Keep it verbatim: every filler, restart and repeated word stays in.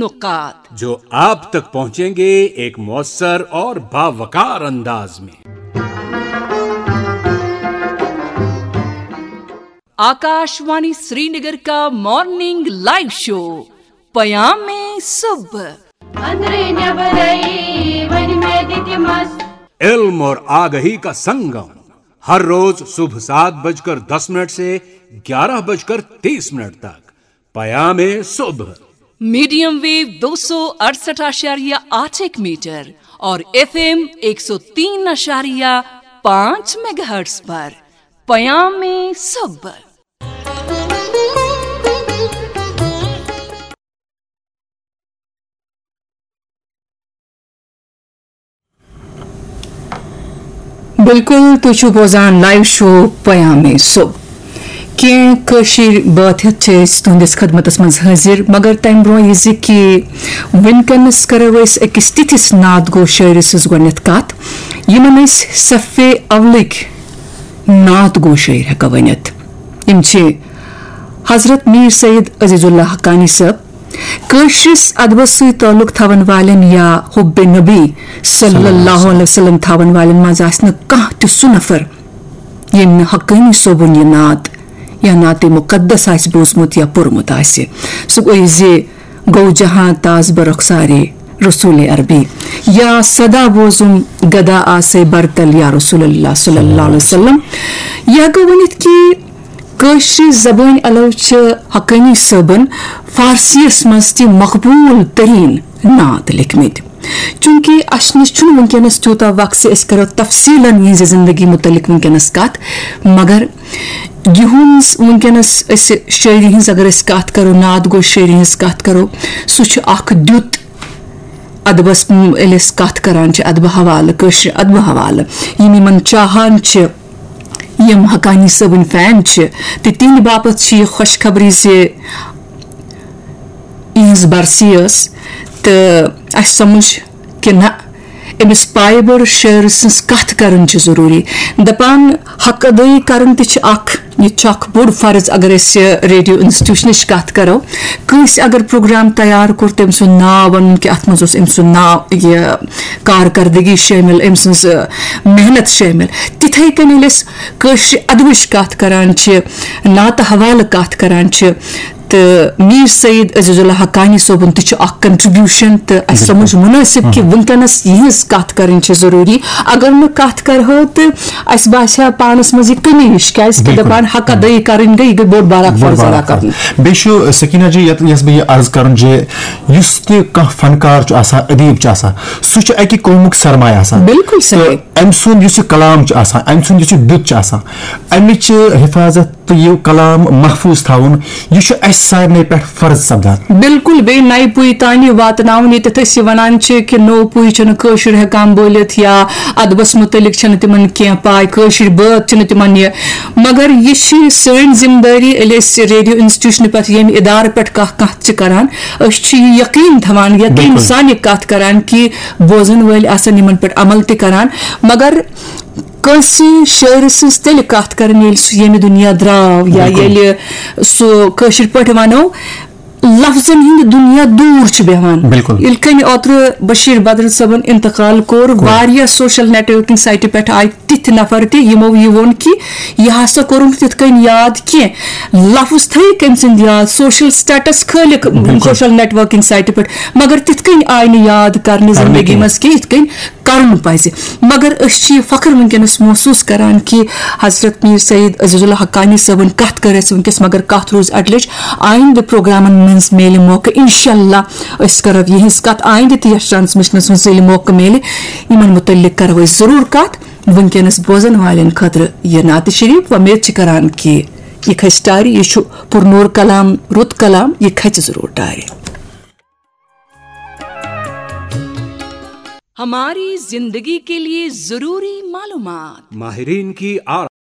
نکات، جو آپ تک پہنچیں گے ایک مؤثر اور باوقار انداز میں۔ آکاش وانی سری نگر کا مارننگ لائیو شو پیام صبح۔ أنٛدرٕ نٮ۪برَے وۄنۍ مےٚ دِ تِم مَس۔ علم اور آگہی کا سنگم، ہر روز صبح سات بج کر دس منٹ سے گیارہ بج کر تیس منٹ تک۔ پیام صبح۔ میڈیم ویو دو سو اڑسٹھ اعشاریہ آٹھ ایک میٹر اور ایف ایم ایک سو تین اعشاریہ پانچ میگا ہرٹز پر۔ پیام صبح۔ بالکل، تُہۍ چھِو بوزان لائیو شو پیام صبح۔ کینٛہہ کٲشِر بٲتھ ہیٚتھ چھِ أسۍ تُہنٛدِس خدمتس منٛز حٲضِر، مگر تَمہِ برٛونٛہہ یہِ زِ کہِ وٕنکیٚنَس کَرو أسۍ أکِس تِتھِس نعت گو شٲعرٕ سٕنٛز گۄڈٕنٮ۪تھ کَتھ، یِمن أسۍ صفے اولٕکۍ نعت گو شٲعر ہٮ۪کو ؤنِتھ۔ یِم چھِ حضرت میر سید عزیز اللہ حقانی صٲب، کٲشرِس ادبس سۭتۍ تعلق تھاون والٮ۪ن یا حب نبی صلی اللہ علیہ وسلم تھاون والٮ۪ن منٛز آسہِ نہٕ کانٛہہ تہِ سُہ نفر، ییٚمۍ نہٕ حقانی صٲبُن یہِ نعت یا نعت مقدس آسہِ بوٗزمُت یا پوٚرمُت آسہِ۔ سُہ گوٚو زِ گوٚو جہاں تاز بہ رخسارِ رسول عربی، یا صدا بوزُم گدا آسے برتل یا رسول اللہ صلی اللہ علیہ وسلم۔ یہِ ہٮ۪کو ؤنِتھ کہِ کٲشرِ زبٲنۍ علاوٕ چھِ حقانی صٲبن فارسیَس منٛز تہِ مقبوٗل تریٖن نعت لیکھمٕتۍ۔ چوٗنٛکہِ اَسہِ نِش چھُنہٕ وٕنکیٚنَس تیوٗتاہ وقت زِ أسۍ کَرو تفصیٖلن یِہٕنٛزِ زندگی مُتعلِق وٕنکیٚنَس کَتھ، مگر یِہُنٛز وٕنکیٚنَس أسۍ شٲعری ہٕنٛز اگر أسۍ کَتھ کَرو، نعت گو شٲعری ہٕنٛز کَتھ کَرو، سُہ چھُ اَکھ دیُت ادبس م-، ییٚلہِ أسۍ کتھ کران چھِ ادبہٕ حوالہٕ، کٲشرِ ادبہٕ حوالہٕ، یِم یِمن چاہان چھِ، یِم حقانی صٲبٕنۍ فین چھِ، تہٕ تِہنٛدِ باپتھ چھِ یہِ خۄشخبری زِ یِہنٛز برسی ٲس، تہٕ اسہِ سمجھ کہِ نہ، أمِس پایہِ بٔڑ شٲعرٕ سٕنٛز کتھ کرٕنۍ چھِ ضروٗری۔ دپان، حق ادٲیی کرُن تہِ چھِ اکھ، یہِ تہِ چھُ اکھ بوٚڑ فرض۔ اگر أسۍ ریڈیو انسٹیٹیوشنٕچ کتھ کرو، کٲنٛسہِ اگر پروگرام تیار کوٚر، تٔمۍ سُنٛد ناو ونُن کہِ اتھ منٛز اوس أمۍ سُنٛد ناو، یہِ کارکردگی شٲمِل، أمۍ سٕنٛز، ٲ، محنت شٲمِل۔ تِتھے کٔنۍ ییٚلہِ أسۍ کٲشرِ ادبٕچ کتھ کران چھِ، نعتہٕ حوالہٕ کتھ کران چھِ، تہٕ میر سید عزیز اللہ حقانی صٲبُن تہِ چھُ اکھ کنٹریبیوشن، تہٕ اسہِ سمجھ مناسب کہِ وٕنکیٚنس یِہٕنٛز کتھ کرٕنۍ چھِ ضروٗری۔ اگر نہٕ کتھ کرہو تہٕ اسہِ باسہِ ہا پانس منٛز یہِ کمی ہِش، کیازِ کہِ دپان حق ادٲیی کرٕنۍ گٔے، یہِ گٔے بوٚڑ بار اکھ فرض ادا کرُن۔ بیٚیہِ چھُ سکینہ جی، یتھ، یژھ بہٕ یہِ عرض کرُن زِ یُس تہِ کانٛہہ فنکار چھُ آسان، ادیٖب چھُ آسان، سُہ چھُ اکہِ قومُک سرمایہ آسان۔ بالکل صحیح۔ تہٕ أمۍ سُنٛد یُس یہِ کلام چھُ آسان، أمۍ سُنٛد یُس یہِ دیُت چھُ آسان، امِچ حفاظت تہٕ یہِ کلام محفوٗظ تھاوُن، یہِ چھُ اسہِ سارنٕے پٮ۪ٹھ فرض سپدان۔ بالکل، بیٚیہِ نَیہِ پُیہِ تانۍ واتناوُن، ییٚتٮ۪تھ أسۍ یہِ ونان چھِ کہِ نوٚو پُے چھُنہٕ کٲشُر ہٮ۪کان بوٗلِتھ یا ادبس مُتعلق چھنہٕ تِمن کینٛہہ پاے، کٲشِر بٲتھ چھِنہٕ تِمن یہِ۔ مگر یہِ چھِ سٲنۍ ذمہٕ دٲری، ییٚلہِ أسۍ ریڈیو انسٹیٹیوشنہٕ پٮ۪ٹھ ییٚمہِ ادارٕ پٮ۪ٹھ کانٛہہ کتھ چھِ کران، أسۍ چھِ یہِ یقین تھاوان، یقین سان یہِ کتھ کران کہِ بوزن وٲلۍ آسن یِمن پٮ۪ٹھ عمل تہِ کران۔ مگر کٲنٛسہِ شٲعرٕ سٕنٛز تیٚلہِ کتھ کرٕنۍ، ییٚلہِ سُہ ییٚمہِ دُنیا درٛاو یا ییٚلہِ سُہ، کٲشِر پٲٹھۍ ونو، لفظن ہٕنٛدِ دُنیا دوٗر چھُ بیٚہوان۔ بالکل۔ ییٚلہِ کٔمۍ اوترٕ بشیٖر بدر صٲبن انتقال کوٚر، واریاہ سوشل نیٹ ورکنگ سائٹہِ پٮ۪ٹھ آیہِ تِتھۍ نفر تہِ، یِمو یہِ ووٚن کہِ یہِ ہسا کوٚرُن تِتھ کٔنۍ یاد کینٛہہ، لفظ تھٲیِکھ أمۍ سٕنٛدۍ یاد، سوشل سٹیٹس کھٲلِکھ سوشل نیٹ ورکنگ سائٹہِ پٮ۪ٹھ، مگر تِتھ کٔنۍ آیہِ نہٕ یاد کرنہٕ زندگی منٛز کینٛہہ، یِتھ کٔنۍ کرُن پزِ۔ مگر أسۍ چھِ یہِ فخر وٕنکیٚنس محسوٗس کران کہِ حضرت میر سید عزیز اللہ حقانی صٲبن کتھ کٔر اَسہِ وٕنکیٚس، مگر کتھ روٗز اڈلِچ۔ آیندٕ پروگرامن منٛز میلہِ موقعہٕ، انشاءاللہ أسۍ کرو یِہنٛز کتھ آیندٕ تہِ، یتھ ٹرانسمیشنس منٛز ییٚلہِ موقعہٕ میلہِ، یِمن متعلق کرو أسۍ ضروٗر کتھ۔ وٕنکیٚنس بوزن والٮ۪ن خٲطرٕ یہِ نعت شریف، وۄمید چھِ کران کہِ یہِ کھسہِ ٹارِ، یہِ چھُ پُرنوٗر کلام، رُت کلام، یہِ کھژِ ضروٗر ٹارِ۔ ہماری زندگی کے لیے ضروری معلومات۔ ماہرین کی آرا